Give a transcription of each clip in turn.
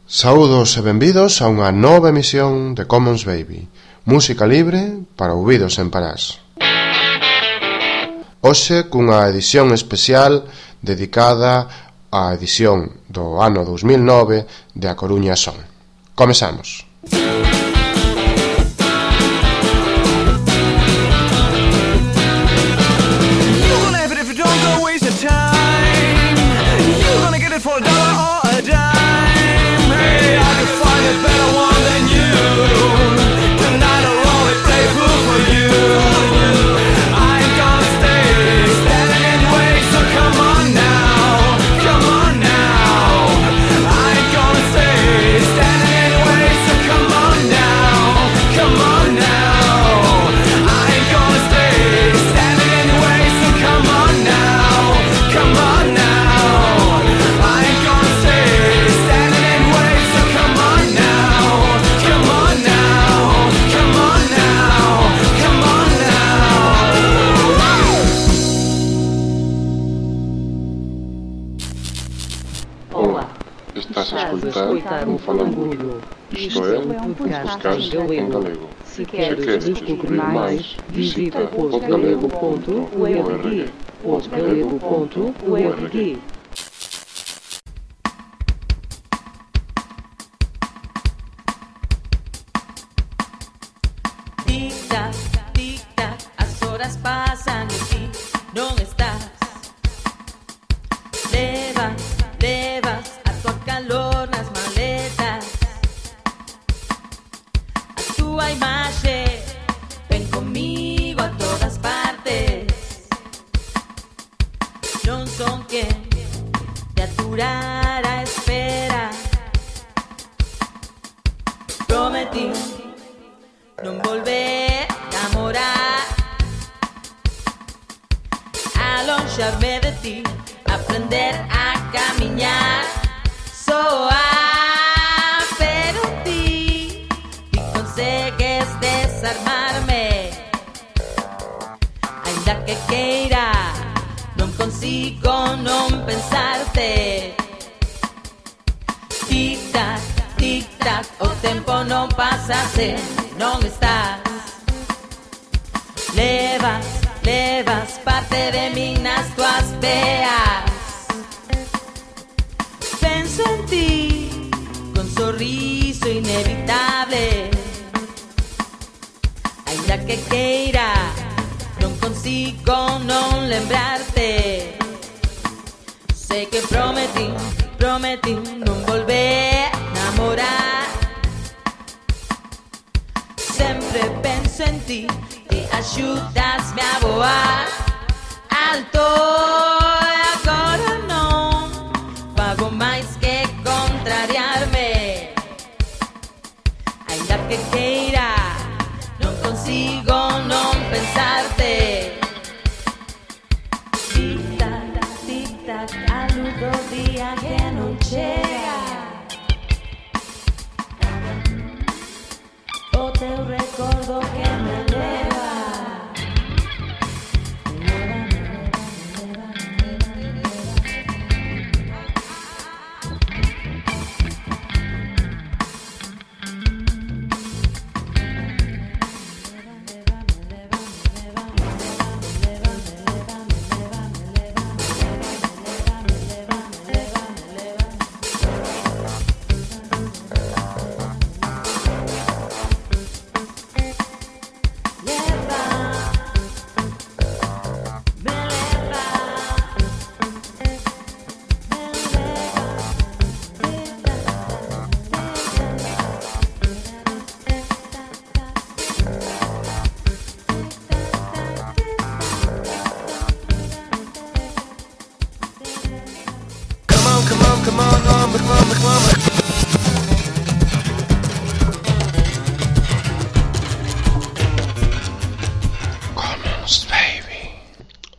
Saúdos e benvidos a unha nova emisión de Commons Baby, música libre para ouvidos sen parás. Hoxe cunha edición especial dedicada á edición do ano 2009 de A Coruña Son. Comezamos. Estás a escoitar o Falangullo, isto é, um podcast em galego. Se queres descobrir mais, visita podgalego.org. podgalego.org. Tic-tac, tic-tac, as horas pasan e ti non estás. Levas a tua calor nas maletas. A tua imaxe ven comigo a todas partes. Non son quen de aturar a espera. Prometí non volver a namorar, alonxarme de ti, aprender a camiñar, soar, pero ti consegues desarmarme. Ainda que queira, non consigo non pensarte. Tic-tac, tic-tac, o tempo non pasa se non estás. Levas parte de min nas tuas veas. Penso en ti con sorriso inevitable. Ainda que queira, non consigo non lembrarte. Sei que prometí non volver a namorar. Sempre penso en ti e axúdasme a voar alto. E agora non fago máis que contrariarme. Ainda que queira, non consigo non pensarte. Tic-tac, tic-tac, a luz do día que non chega. O teu recordo que me leva.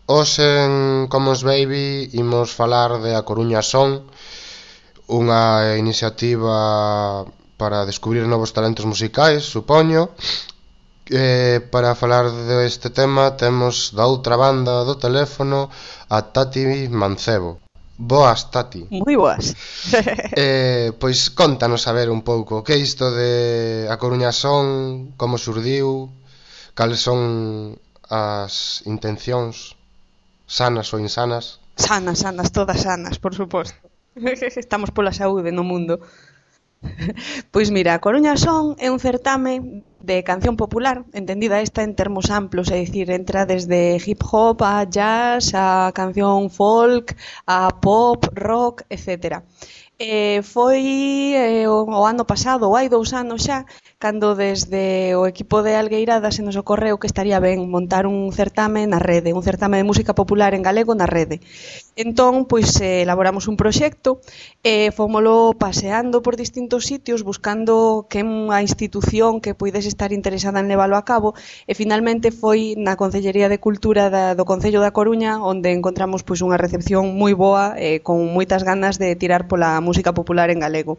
Hoxe en Commons Baby imos falar de A Coruña Son, unha iniciativa para descubrir novos talentos musicais, supoño, Para falar deste tema temos da outra banda do teléfono a Tati Mancebo. Boas, Tati. Moi boas. Pois contanos a ver un pouco que é isto de A Coruña Son, como surdiu, cales son as intencións, sanas ou insanas. Sanas, todas sanas, por suposto. Estamos pola saúde no mundo. Pois mira, A Coruña Son é un certame de canción popular, entendida esta en termos amplos, é dicir, entra desde hip hop a jazz, a canción folk, a pop, rock, etc. Foi o ano pasado, ou hai 2 anos xa, cando desde o equipo de Algueirada se nos ocorreu que estaría ben montar un certame na rede, un certame de música popular en galego na rede. Entón, pois, elaboramos un proxecto e fomolo paseando por distintos sitios buscando que unha institución que puidese estar interesada en leválo a cabo e finalmente foi na Concellería de Cultura do Concello da Coruña onde encontramos pois unha recepción moi boa e con moitas ganas de tirar pola música popular en galego.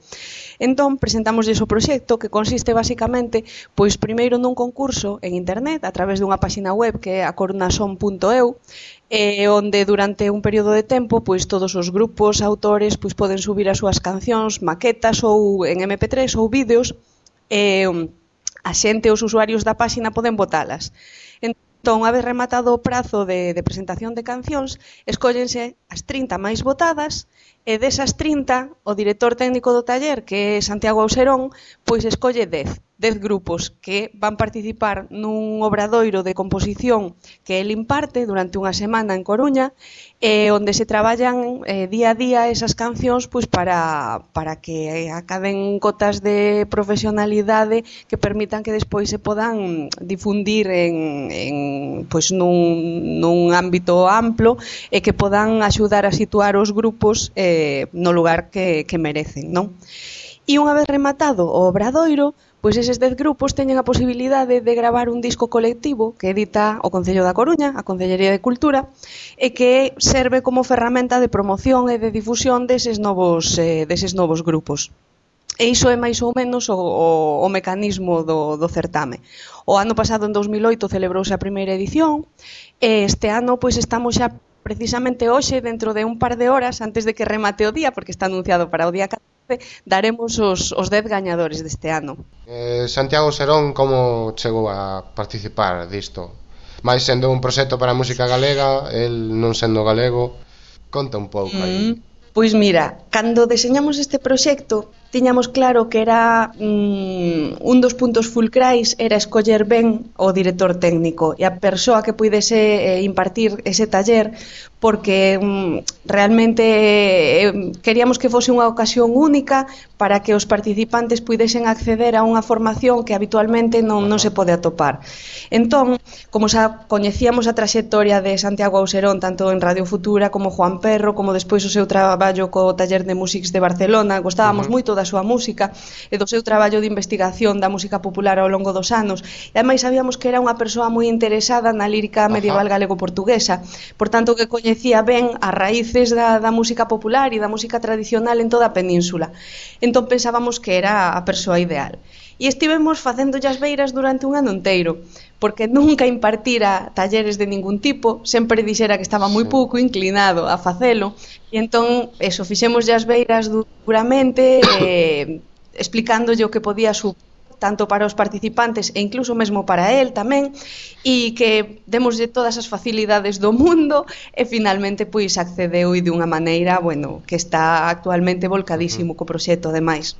Entón, presentámosles o proxecto que consiste basicamente pois primeiro nun concurso en internet a través dunha páxina web que é acorunason.eu onde durante un período de tempo pois todos os grupos, autores pois poden subir as súas cancións, maquetas ou en MP3 ou vídeos e a xente, os usuarios da páxina poden votalas. Entón, unha vez rematado o prazo de presentación de cancións, escóllense as 30 máis votadas e desas 30, o director técnico do taller, que é Santiago Auserón, pois escolle 10 grupos que van participar nun obradoiro de composición que el imparte durante unha semana en Coruña onde se traballan día a día esas cancións pois para que acaden cotas de profesionalidade que permitan que despois se podan difundir pois nun ámbito amplo e que podan axudar a situar os grupos no lugar que merecen, non? E unha vez rematado o obradoiro, pois eses 10 grupos teñen a posibilidade de gravar un disco colectivo que edita o Concello da Coruña, a Concellería de Cultura, e que serve como ferramenta de promoción e de difusión deses novos grupos. E iso é máis ou menos o mecanismo do certame. O ano pasado, en 2008, celebrouse a primeira edición, e este ano pois estamos xa precisamente hoxe, dentro de un par de horas, antes de que remate o día, porque está anunciado para o día 14, daremos os 10 gañadores deste ano. Santiago Serón, como chegou a participar disto? Mais sendo un proxecto para a música galega, el non sendo galego, conta un pouco aí. Pois mira, cando deseñamos este proxecto, tiñamos claro que era un dos puntos fulcrais era escoller ben o director técnico e a persoa que puidese impartir ese taller, porque realmente queríamos que fose unha ocasión única para que os participantes puidesen acceder a unha formación que habitualmente non se pode atopar. Entón, como xa coñecíamos a traxectoria de Santiago Auserón tanto en Radio Futura como Juan Perro, como despois o seu traballo co Taller de Músics de Barcelona, gostábamos moito da súa música e do seu traballo de investigación da música popular ao longo dos anos, e ademais sabíamos que era unha persoa moi interesada na lírica medieval galego-portuguesa, por tanto que coñecía ben as raíces da música popular e da música tradicional en toda a península. Entón pensábamos que era a persoa ideal. E estivemos facendo as beiras durante un ano inteiro, porque nunca impartira talleres de ningún tipo, sempre dixera que estaba moi pouco inclinado a facelo, e entón, fixemos as beiras duramente, explicándolle o que podía supor tanto para os participantes e incluso mesmo para el tamén, e que demoslle todas as facilidades do mundo e finalmente pois accedeu dunha maneira, bueno, que está actualmente volcadísimo co proxecto ademais.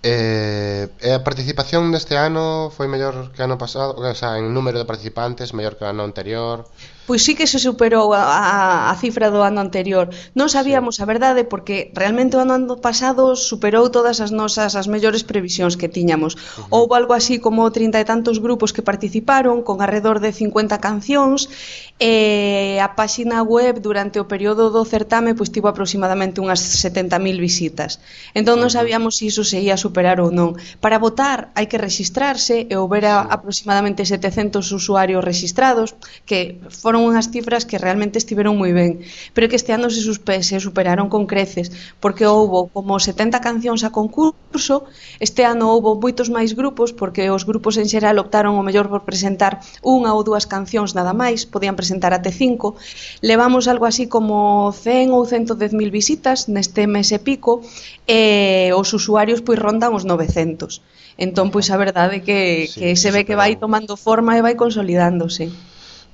E a participación deste ano foi mellor que ano pasado, o sea, en número de participantes mellor que o ano anterior? Pois sí que se superou a cifra do ano anterior. Non sabíamos a verdade porque realmente o ano pasado superou todas as mellores previsións que tiñamos. Houbo algo así como 30 e tantos grupos que participaron con alrededor de 50 cancións e a páxina web durante o período do certame pois tivo aproximadamente unhas 70.000 visitas. Entón non sabíamos se iso se ia superar ou non. Para votar hai que rexistrarse e houbera aproximadamente 700 usuarios rexistrados, que foron unhas cifras que realmente estiveron moi ben, pero que este ano se superaron con creces, porque houbo como 70 cancións a concurso. Este ano houbo moitos máis grupos, porque os grupos en xeral optaron o mellor por presentar unha ou dúas cancións nada máis, podían presentar até 5. Levamos algo así como 100 ou 110.000 visitas neste mes e pico, e os usuarios pois rondan os 900. Entón, pois a verdade que se ve que vai tomando forma e vai consolidándose.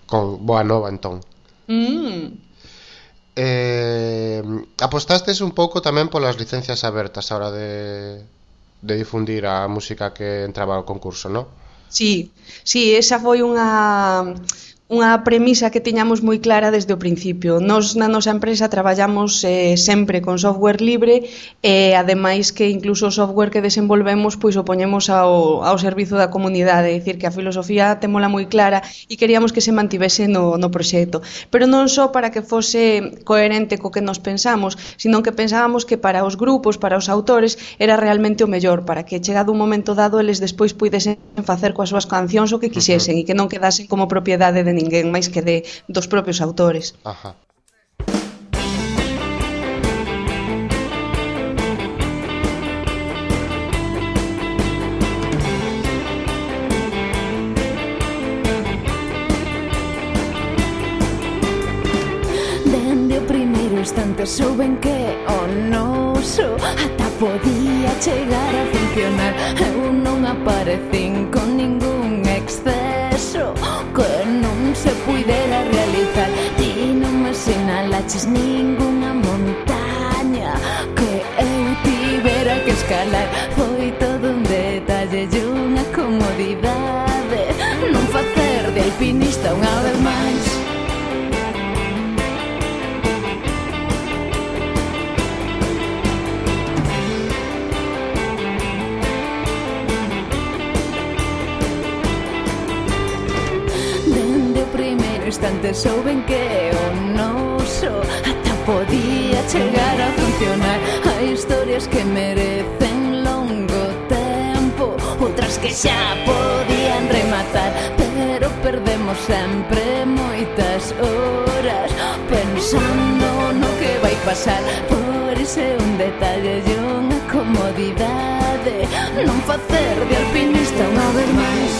Con boa nova, entón. Apostastes un pouco tamén polas licencias abertas a hora de difundir a música que entraba ao concurso, non? Sí, esa foi unha premisa que tiñamos moi clara desde o principio. Nos na nosa empresa traballamos sempre con software libre e ademais que incluso o software que desenvolvemos pois o poñemos ao servizo da comunidade, é dicir que a filosofía témola moi clara e queríamos que se mantivese no proxecto, pero non só para que fose coherente co que nos pensamos, sino que pensábamos que para os grupos, para os autores era realmente o mellor, para que chegado un momento dado eles despois puidesen facer coas súas cancións o que quixesen e que non quedasen como propiedade de ninguén máis que dos propios autores. Ajá. Dende o primeiro instante souben que o noso ata podía chegar a funcionar. Eu non aparecín con ningún exceso que non se puidera realizar. Ti non me sinalaches ningunha montaña que eu tivera que escalar. Foi todo un detalle e unha comodidade non facer de alpinista unha vez máis. Instante souben que o noso ata podía chegar a funcionar. Hai historias que merecen longo tempo, outras que xa podían rematar, pero perdemos sempre moitas horas pensando no que vai pasar. Por iso é un detalle e unha comodidade non facer de alpinista unha vez máis.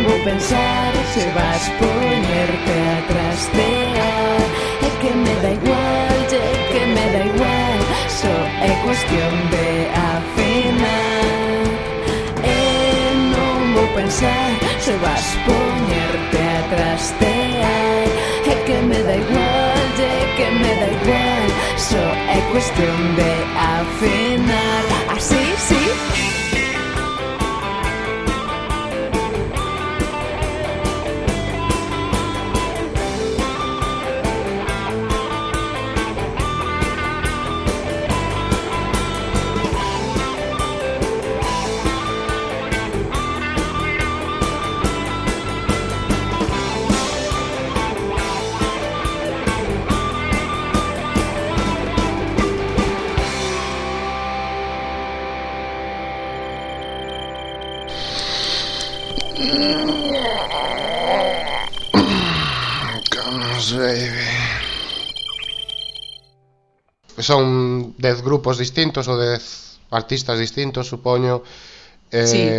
Vou pensar se vas ponerte a trastear. É que me da igual, que me da igual, só é cuestión de afinar. Non vou pensar se vas ponerte a trastear. É que me da igual, que me da igual, só é cuestión de afinar. Así, sí. Son 10 grupos distintos ou 10 artistas distintos, supoño. Sí.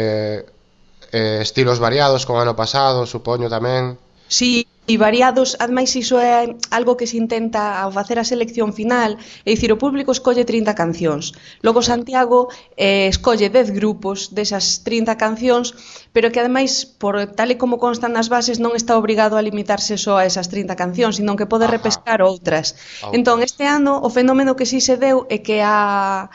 Estilos variados como ano pasado, supoño tamén. Sí, e variados, ademais iso é algo que se intenta ao facer a selección final, é dicir, o público escolle 30 cancións, logo Santiago escolle 10 grupos desas 30 cancións, pero que ademais, por tal e como constan nas bases, non está obrigado a limitarse só a esas 30 cancións, senón que pode repescar outras. Entón, este ano, o fenómeno que si se deu é que a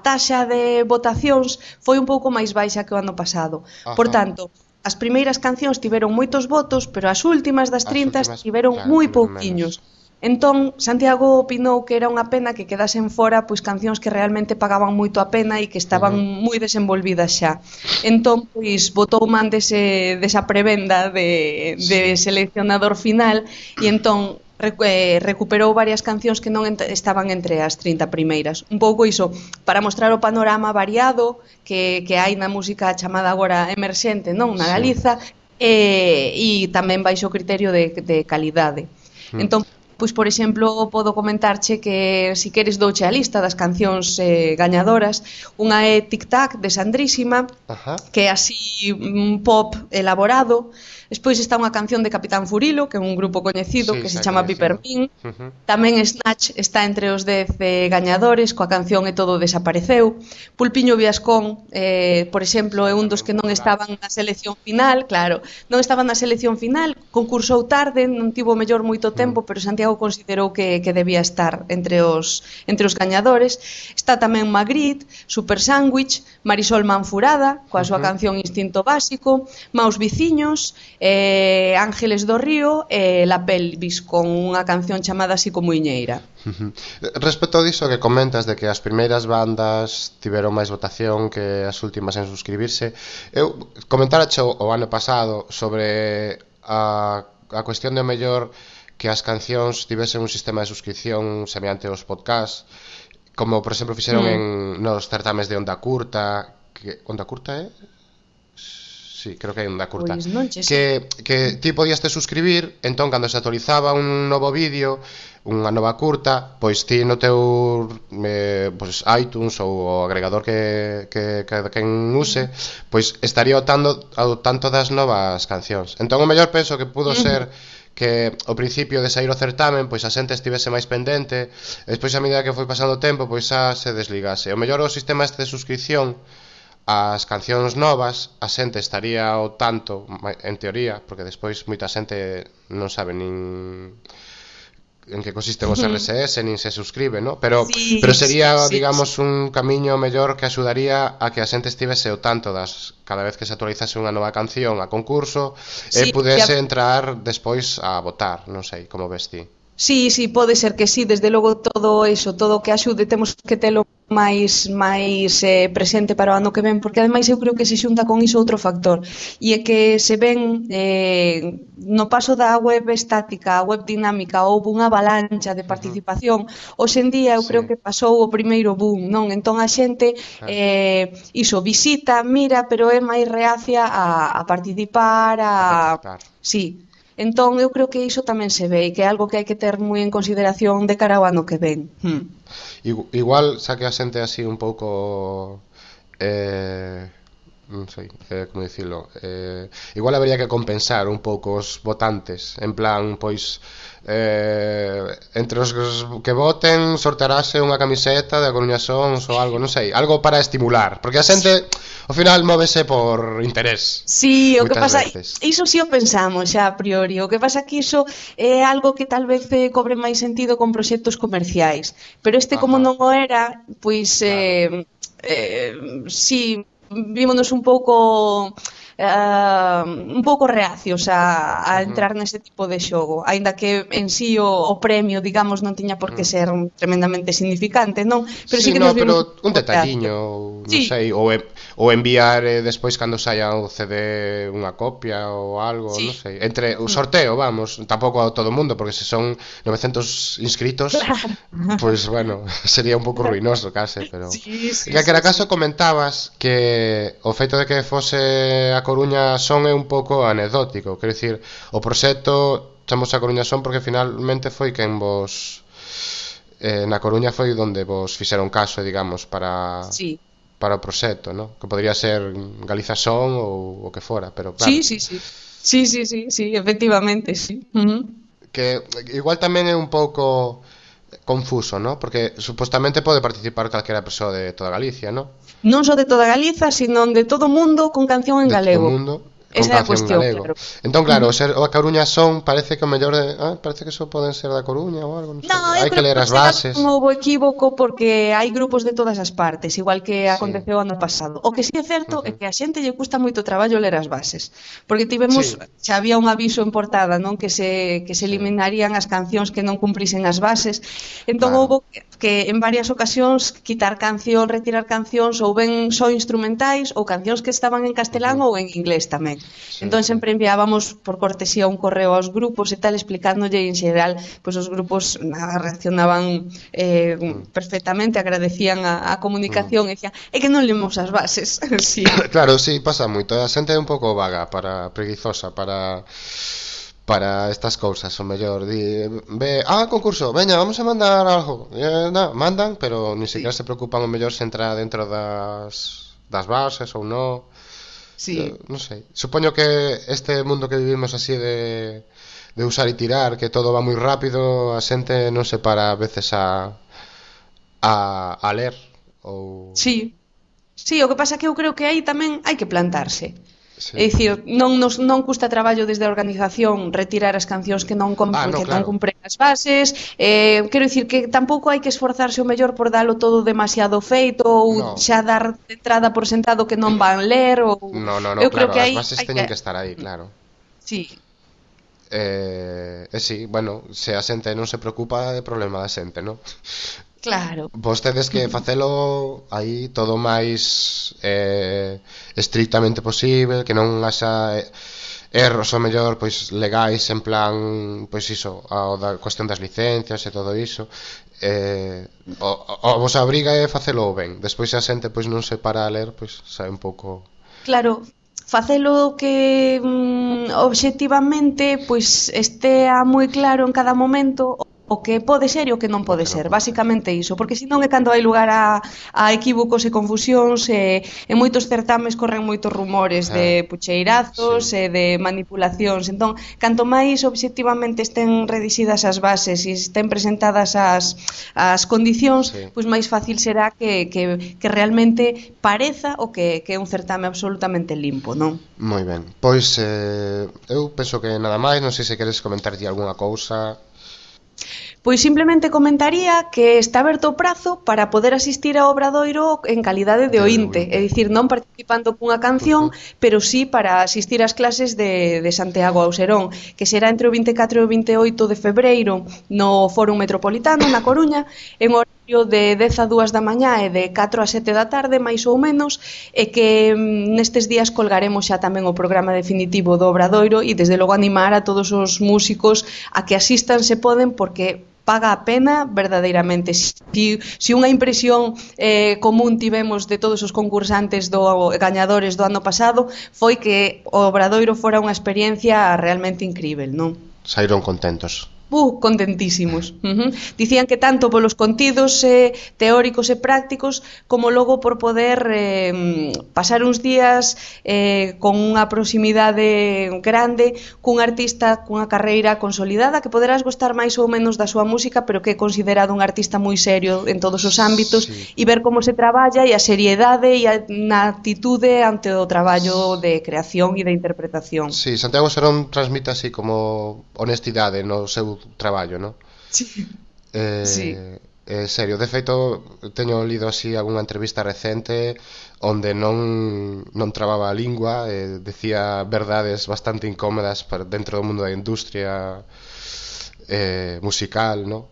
taxa de votacións foi un pouco máis baixa que o ano pasado. Por tanto, as primeiras cancións tiveron moitos votos, pero as últimas das 30 tiveron moi pouquiños. Entón, Santiago opinou que era unha pena que quedasen fora pois cancións que realmente pagaban moito a pena e que estaban moi desenvolvidas xa. Entón, pois, botou man desa prebenda de seleccionador final e entón recuperou varias cancións que non estaban entre as 30 primeiras. Un pouco iso, para mostrar o panorama variado que hai na música chamada agora emerxente, non, na Galiza, e tamén baixo o criterio de calidade. Entón, pois, por exemplo, podo comentarche que, se queres, douche a lista das cancións gañadoras. Unha é Tic Tac, de Sandrísima, que é así un pop elaborado. Despois está unha canción de Capitán Furilo, que é un grupo coñecido, que se chama Pipermin. Tamén Snatch está entre os 10 gañadores, coa canción E todo desapareceu. Pulpiño Viascón, por exemplo, é un dos que non estaban na selección final, claro, non estaban na selección final, concursou tarde, non tivo mellor moito tempo, pero Santiago considerou que debía estar entre os gañadores. Está tamén Magritte, Super Sándwich, Marisol Manfurada, coa súa canción Instinto Básico, Maus Viciños, Ángeles do Río e La Pelvis, con unha canción chamada Así como Iñeira. Respecto diso que comentas de que as primeiras bandas tiveron máis votación que as últimas en suscribirse, eu comentara o ano pasado sobre a cuestión de o mellor que as cancións tivesen un sistema de suscripción semelhante aos podcasts, como por exemplo fixeron nos certames de Onda Curta, que Onda Curta é? Sí, creo que hai Onda Curta. Pois non che que ti podías te suscribir, entón cando se actualizaba un novo vídeo, unha nova curta, pois ti no teu pois iTunes ou o agregador que quen use, pois estaría ao tanto das novas cancións. Entón o mellor penso que pudo ser que ao principio de sair o certamen pois a xente estivese máis pendente, e despois a medida que foi pasando o tempo pois xa se desligase. O mellor o sistema este de suscripción as cancións novas, a xente estaría ao tanto, en teoría, porque despois moita xente non sabe nin en que consisten os RSS, nin se suscribe, ¿no? Pero sería, digamos, un camiño mellor que axudaría a que a xente estivese ao tanto das cada vez que se actualizase unha nova canción a concurso e pudese entrar despois a votar, non sei, como ves ti. Sí, pode ser que sí, desde logo todo eso, todo o que axude temos que telo máis presente para o ano que ven, porque ademais eu creo que se xunta con iso outro factor, e é que se ven no paso da web estática a web dinámica houve unha avalancha de participación. Hoxe en día eu creo que pasou o primeiro boom, non? Entón a xente iso, visita, mira, pero é máis reacia a participar, Sí. Entón, eu creo que iso tamén se ve e que é algo que hai que ter moi en consideración de cara ao ano que ven. Igual, xa que a xente así un pouco non sei, como dicilo, igual habería que compensar un pouco os votantes, en plan, pois entre os que voten sortearase unha camiseta de A Coruña Sons ou algo, non sei, algo para estimular, porque a xente ao final móvese por interés. Sí, o que pasa, iso si o pensamos xa a priori, o que pasa que iso é algo que tal vez cobre máis sentido con proxectos comerciais, pero este como non o era, pois si vímonos un pouco reacios a entrar neste tipo de xogo, aínda que en sí o premio, digamos, non tiña por que ser tremendamente significante, non? Pero sí que nos pero un detalliño, non sei, ou enviar despois cando saia o CD unha copia ou algo, non sei, entre o sorteo, vamos, tampouco a todo o mundo, porque se son 900 inscritos, pois bueno, sería un pouco ruinoso case, pero e que era caso comentabas que o feito de que fose a Coruña Son é un pouco anecdótico, quero dicir, o proxecto chamamos a Coruña Son porque finalmente foi quen vos na Coruña foi onde vos fixeron caso, digamos, para o proxecto, ¿no? Que podría ser Galiza Son ou o que fora, pero claro. Sí, efectivamente, sí. Que igual tamén é un pouco confuso, ¿no? Porque supostamente pode participar calquera persoa de toda Galicia, ¿no? Non só de toda Galiza, sino de todo o mundo con canción en galego. De todo o mundo. con Esa é a canción cuestión, galego. claro. Entón, claro, o A Coruña Son parece que o mellor parece que só poden ser da Coruña ou algo, non sei. No, eu Hai que creo ler que as bases. non houbo equívoco porque hai grupos de todas as partes, igual que Sí. aconteceu ano pasado. O que sí é certo é que a xente lle custa moito traballo ler as bases, porque tivemos, Sí. xa había un aviso en portada, non, que se eliminarían as cancións que non cumprisen as bases. Entón Claro. houbo que en varias ocasións quitar canción, retirar cancións ou ben só instrumentais ou cancións que estaban en castelán ou en inglés tamén. Entón sempre enviábamos por cortesía un correo aos grupos e tal explicándolle, e en xeral pois os grupos reaccionaban perfectamente, agradecían a comunicación e dicían, é que non lemos as bases. Sí. Claro, sí, pasa moito. A xente é un pouco vaga, preguizosa para estas cousas, o mellor concurso, veña, vamos a mandar algo. Mandan, pero ni siquiera se preocupan o mellor se entra dentro das bases ou non. Sí. Non sei. Supoño que este mundo que vivimos así de usar e tirar, que todo va moi rápido, a xente non se para a veces a ler ou... Sí. Sí, o que pasa que eu creo que aí tamén hai que plantarse. Sí. É dicir, non custa traballo desde a organización retirar as cancións que non claro. cumpren as bases. Quero dicir que tampouco hai que esforzarse o mellor por dalo todo demasiado feito ou xa dar de entrada por sentado que non van ler ou... No, eu claro, creo que as aí bases teñen que estar aí, claro. Sí. Sí, bueno, se a xente non se preocupa é problema da xente, non? Claro. Vostedes que facelo aí todo máis estrictamente posible, que non haxa erros o mellor pois legais en plan, pois iso, a cuestión das licencias e todo iso. O vos obriga é facelo ben. Despois se a xente pois non se para a ler, pois sabe un pouco. Claro, facelo que obxectivamente pois estea moi claro en cada momento o que pode ser e o que non pode ser, basicamente iso, porque senón é cando hai lugar a equívocos e confusións e en moitos certames corren moitos rumores de pucheirazos e de manipulacións. Entón, canto máis obxectivamente estén redixidas as bases e estén presentadas as condicións, pois máis fácil será que realmente pareza o que é un certame absolutamente limpo, non? Moi ben, pois eu penso que nada máis, non sei se queres comentarlle algunha cousa. Pois simplemente comentaría que está aberto o prazo para poder asistir ao Obradoiro en calidade de oínte, é dicir, non participando cunha canción, pero sí para asistir ás clases de Santiago Auserón, que será entre o 24 e o 28 de febreiro no Fórum Metropolitano, na Coruña, en horario de 10 a 2 da mañá e de 4 a 7 da tarde, máis ou menos, e que nestes días colgaremos xa tamén o programa definitivo do Obradoiro e desde logo animar a todos os músicos a que asistan se poden, porque paga a pena verdadeiramente. Si unha impresión común tivemos de todos os concursantes gañadores do ano pasado foi que o Obradoiro fora unha experiencia realmente incrível, non? Saíron contentos. Contentísimos. Dicían que tanto polos contidos teóricos e prácticos como logo por poder pasar uns días con unha proximidade grande cun artista cunha carreira consolidada, que poderás gostar máis ou menos da súa música, pero que é considerado un artista moi serio en todos os ámbitos, e ver como se traballa e a seriedade e a actitude ante o traballo de creación e de interpretación. Sí, Santiago Serón transmite así como honestidade no seu traballo, non? Sí. Serio, de feito teño lido así algunha entrevista recente onde non trababa a lingua, decía verdades bastante incómodas dentro do mundo da industria musical, non?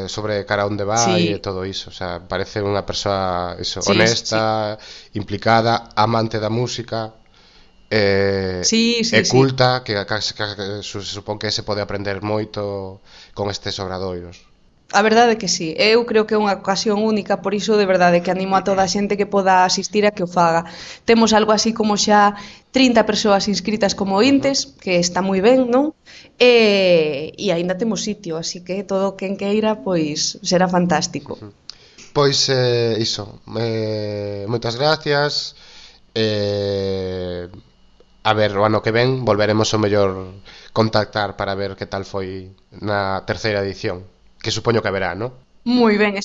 Sobre cara onde vai e todo iso, o sea, parece unha persoa honesta, implicada, amante da música. Culta, que se supón que se pode aprender moito con estes obradoiros. A verdade é que sí, eu creo que é unha ocasión única, por iso de verdade que animo a toda a xente que poda asistir a que o faga. Temos algo así como xa 30 persoas inscritas como ointes, que está moi ben, non? E aínda temos sitio, así que todo quen queira, pois será fantástico. Pois iso, moitas gracias. A ver, o ano que ven volveremos o mellor contactar para ver que tal foi na terceira edición, que supoño que haberá, non? Moi ben,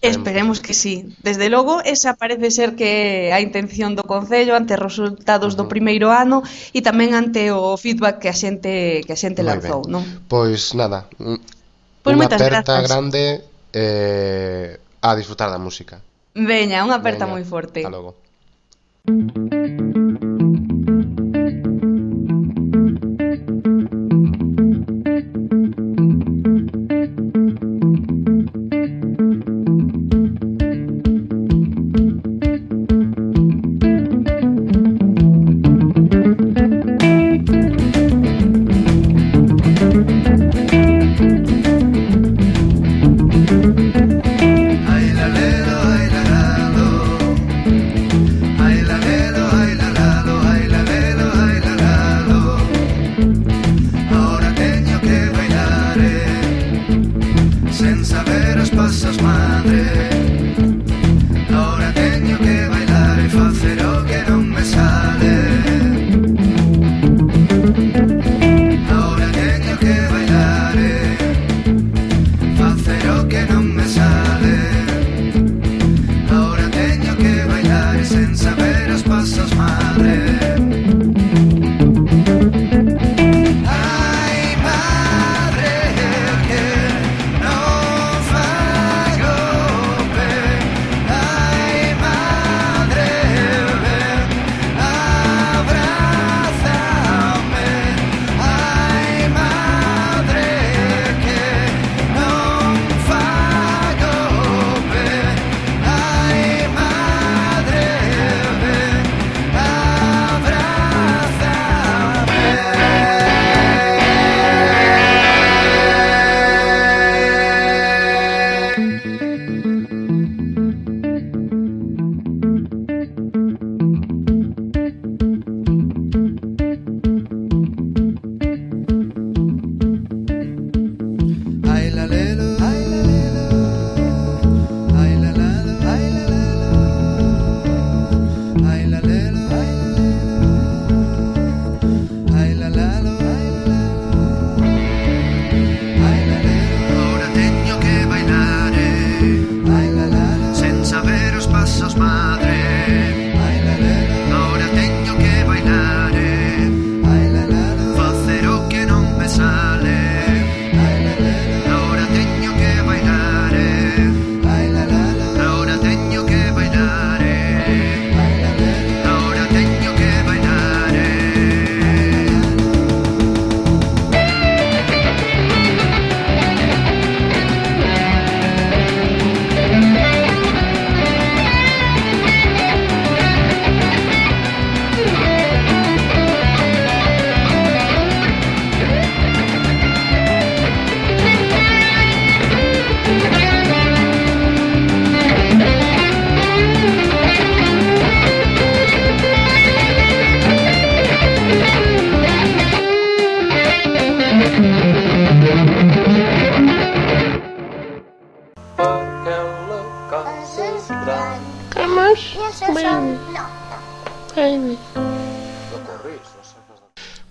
Esperemos que sí. Desde logo, esa parece ser que a intención do Concello ante os resultados do primeiro ano e tamén ante o feedback que a xente lanzou, non? Pois nada, Pois unha moitas aperta grazas. grande a disfrutar da música. Veña, unha aperta Veña, moi forte. Hasta logo.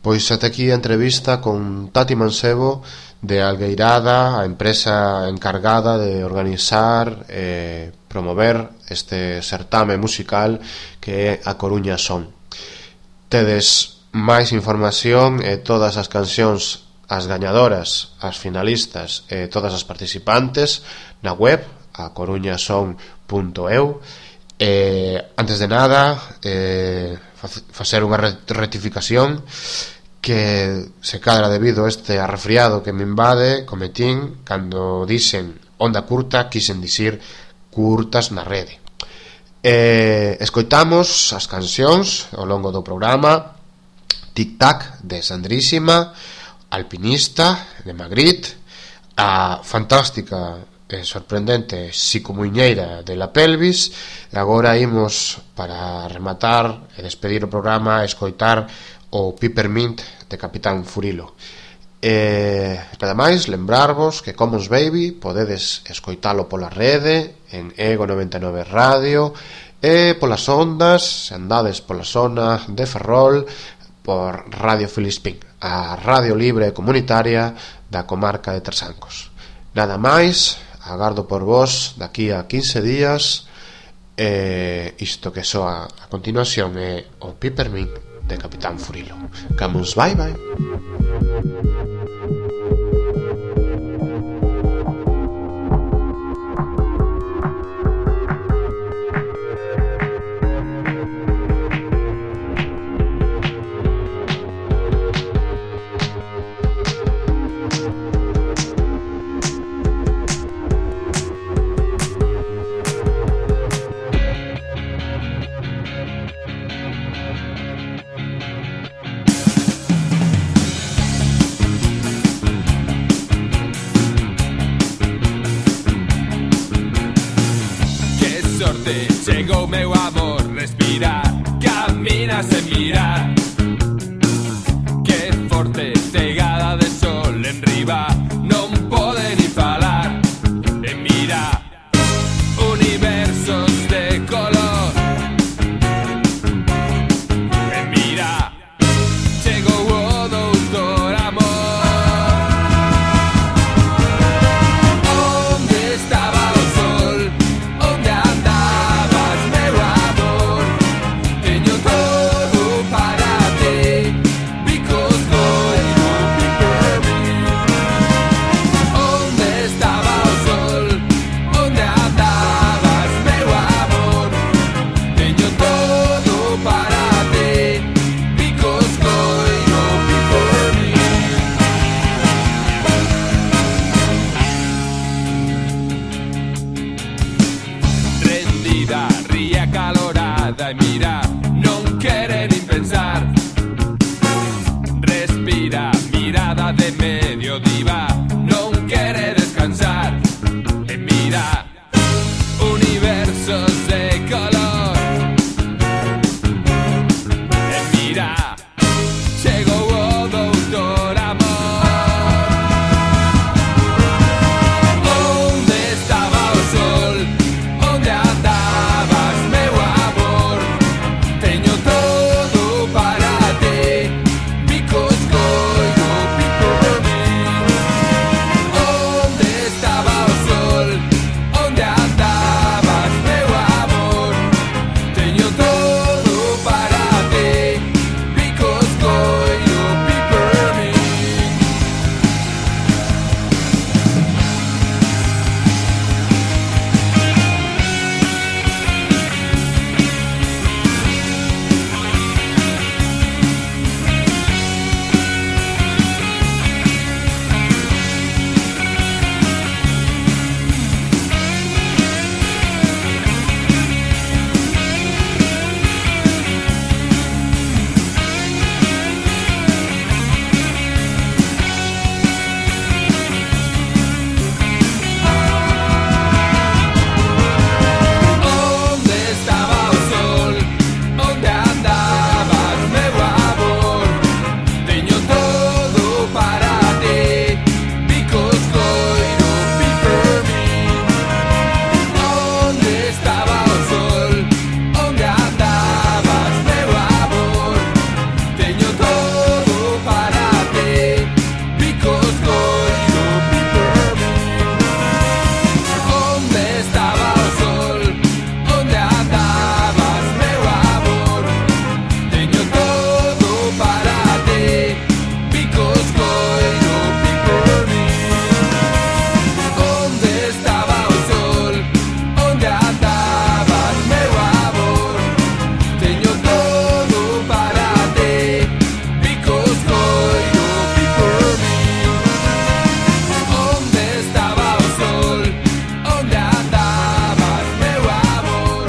Pois ata aquí a entrevista con Tati Mancebo de Algueirada, a empresa encargada de organizar e promover este certame musical que é A Coruña Son. Tedes máis información e todas as cancións, as gañadoras, as finalistas e todas as participantes na web acoruñason.eu. Antes de nada, facer unha rectificación que se cadra debido a este arrefriado que me invade, cometín cando dicen onda curta, quixen dicir curtas na rede. Escoitamos as cancións ao longo do programa: Tic Tac de Sandrísima, Alpinista de Magritte, a fantástica e sorprendente Psicomuñeira de La Pelvis, e agora imos, para rematar e despedir o programa, escoitar o Peppermint de Capitán Furilo. Nada máis, lembrarvos que Commons Baby podedes escoitalo pola rede en Ego 99 Radio e polas ondas, se andades pola zona de Ferrol, por Radio Filispín, a radio libre e comunitaria da comarca de Trasancos. Nada máis, agardo por vos daqui a 15 días. Isto que soa a continuación é o Peppermint de Capitán Furilo. Camus, bye bye. Chegou meu amor, respira, camina sen mirar. Que forte, cegada de sol enriba, non pode ni falar. E mira, universos de color. E mira, chegou o doutor amor. Onde estaba o sol? Onde andabas, meu amor? Teño todo para ti, because goiro peppermint. Onde estaba o sol? Onde andabas, meu amor? Teño todo para ti, because goiro peppermint. Rendida, ría calorada e mira, non quere nin pensar. Respira, mirada de medio diva, non quere descansar. E mira, universos de color. E mira, chegou o doutor amor. Onde estaba o sol? Onde andabas, meu amor? Teño todo para ti, because goiro peppermint. Onde estaba o sol? Onde andabas, meu amor? Teño todo para ti, because goiro peppermint. Onde estaba o sol? Onde andabas, meu amor? Teño todo para ti, because goiro peppermint. Onde estaba o sol? Onde andabas, meu amor? Teño todo para ti, because goiro peppermint. Onde estaba o sol? Onde andabas, meu amor? Teño todo para ti, because goiro peppermint. Onde estaba o sol? Onde andabas, meu amor? Teño todo para ti, because goiro peppermint. Onde estaba o sol? Onde andabas, meu amor?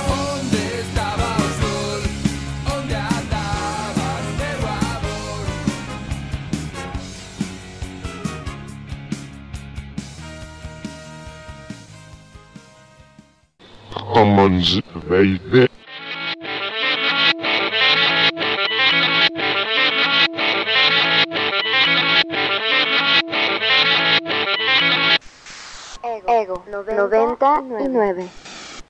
Onde estaba o sol? Onde andabas, meu amor? Commons, baby. Ego 99.